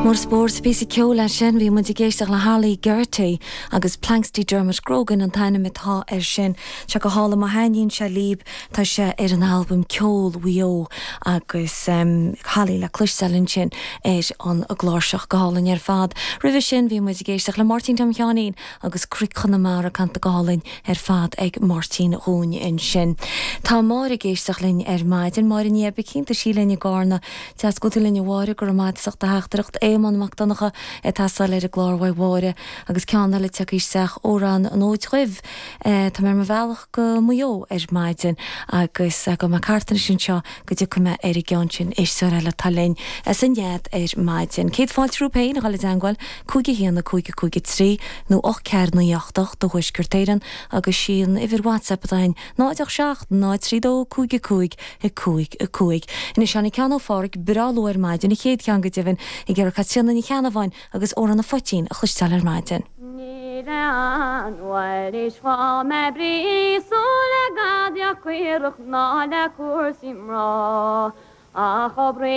Mór spóirt, píosa ceoil é sin. Bhí muid ag éisteacht le Harley Geraghty agus Planxty Dermot Grogan an t-ainm atá air sin. Tá sé go hálainn má thaitníonn sé líb, tá sé ar an albam Ceol Mhaigh Eo agus Holly le cloisteáil ansin ar an gcláirseach. Go hálainn ar fad. Roimhe sin bhí muid ag éisteacht le Máirtín Tom Sheáinín agus Cnoic Chonamara canta go hálainn ar fad ag Máirtín dhúinn ansin. Tá Máire ag éisteacht linn ar maidin. Máire Ní Oibicín, tá sí linn i gCarna. Deas go bhfuil tú linn a Mháire, go raibh maith agat as ucht do theachtaireacht. Éamonn Mac Donncha ag teastáil ar an gclár uaidh Mháire agus ceann eile tagtha isteach, Amhrán an Fhóid Dhuibh. Tá mé ar mo bhealach go Maigh Eo ar maidin agus gabhfaidh mé thart anois anseo go dtiocfaidh mé ar an gceann sin. Éisteoir eile atá linn as an Nead ar maidin. Céad fáilte romhaibh féin a dhul i dteangmháil, 5 1 5 5 3 nó 8 4 9 8 8 do Thuaisceart Éireann agus sí an uimhir WhatsApp atá againn 0 8 7 0 3 2 5 5 5 5. Anois tháinig ceann ó Pháraic breá luath ar maidin, an chéad cheann go deimhin, ag iarraidh Caitríona Ní Cheannabháin agus Amhrán an Phoitín a chloisteáil ar maidin. Níl aon mhailís dhom a bríosú le gadaíocht caorach ná le cúrsaí mná ach obair.